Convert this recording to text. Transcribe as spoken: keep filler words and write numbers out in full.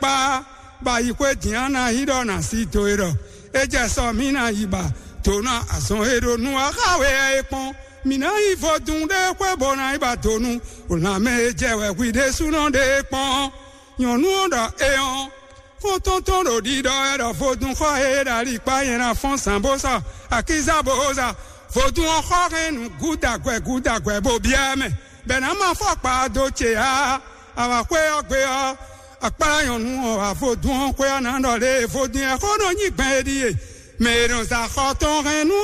Á, bɔ ayi xwé din á ná yí ɖɔ ná sí do e ɖɔ é jɛ sɔ mǐ ná yi ba do ná azɔn e ɖo nu axá we ɛ é kpɔ́n. Mǐ ná yi vodún ɖé xwé bó ná yi ba do nu lanmɛ e jɛ wɛ hwi ɖésúnɔ ɖé é kpɔ́n. Nyɔ̌nu ɔ́ ɖɔ é ɔ́, xɔ́ntɔn tɔn ɖo ɖiɖɔ wɛ ɖɔ vodún xɔ e ɖo alikpá nyɛ ná fɔ́n zǎn bó sa akíza bó za. Vodún ɔ́ xɔ hɛn nǔ gúdagwɛ gúdagwɛ bó byɔ́ ɛ mɛ, bɛ̌ ná ma fɔkpa dó ce á. Avǎxwé ɔ́ gbe ɔ́, akpára nyɔ̌nu ɔ́ wá vodún ɔ́ xwé ɔ́ ná ɖɔ lě e vodún ɛ xó nɔ nyí gbɛn é ɖíe. Mɛ e nɔ za xɔ tɔn hɛn nú